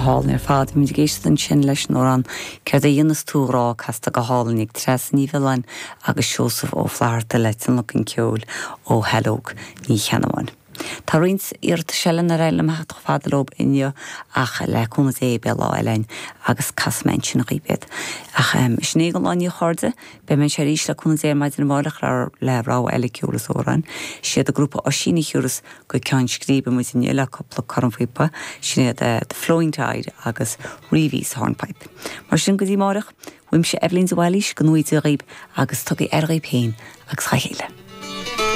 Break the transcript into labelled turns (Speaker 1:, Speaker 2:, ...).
Speaker 1: Go hálainn ar fad. Bhí muid ag éisteacht ansin leis an amhrán 'Céard a Dhéanfas Tú a Ghrá' casta go hálainn ag Treasa Ní Mhiolláin agus Seosamh Ó Flatharta le tionlacan ceoil ó Shaileog Ní Cheannabháin. Tá roinnt iarratais eile nár éirigh liom a theacht chomh fada leo inniu ach le cúnamh Dé beidh lá eile againn agus casfaidh mé ansin dhaoibh iad. Ach sin é don lá inniu a chairde. Beidh mé anseo arís le cúnamh Dé ar maidin amárach le rogha eile ceoil is amhráin. Siad an grúpa Oisín a thiúrfas go ceann scríbe muid inniu le cúpla cornphíopa, sin iad The Flowing Tide agus Reevy's Hornpipe. Mar sin, go dtí amárach, uaimse Eibhlín de Bhailís, go ngnóthaí Dia dhaoib agus tugaigí aire dhaoib féin agus dhá chéile.